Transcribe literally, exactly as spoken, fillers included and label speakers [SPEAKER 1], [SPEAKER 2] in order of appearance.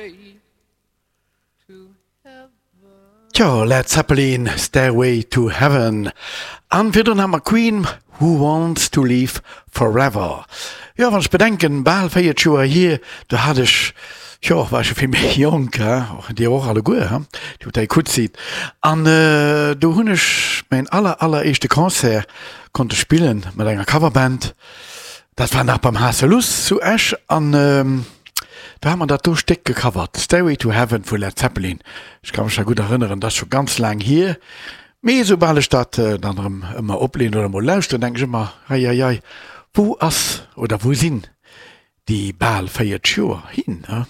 [SPEAKER 1] Stairway to heaven.
[SPEAKER 2] Tjo, Led Zeppelin, Stairway to Heaven. An virdrun hat mer Queen, Who Wants to Live Forever. Jo, wann ech bedenken, bal véiertg Joer hier, do hat ech, jo, war ech jo vill méi jonk, he, dir och alleguer, he, déi wou däi gutt sidd. An do hunn ech mäin aller, alleréischte Concert konnte spillen mat enger Coverband. Dat war nach beim Haasseluss zu Esch an do hat mer dat do Stéck gecovert, Stairway to Heaven vu Led Zeppelin. Ech ka mech nach gutt erënneren, dat ass scho ganz laang hier, mee soubal ech dat dann erëm ëmmer opleeën oder mol lauschteren, denken ech ëmmer, Ei, ei, ei, wou ass oder wou sinn déi bal véiertg Joer hin, ne?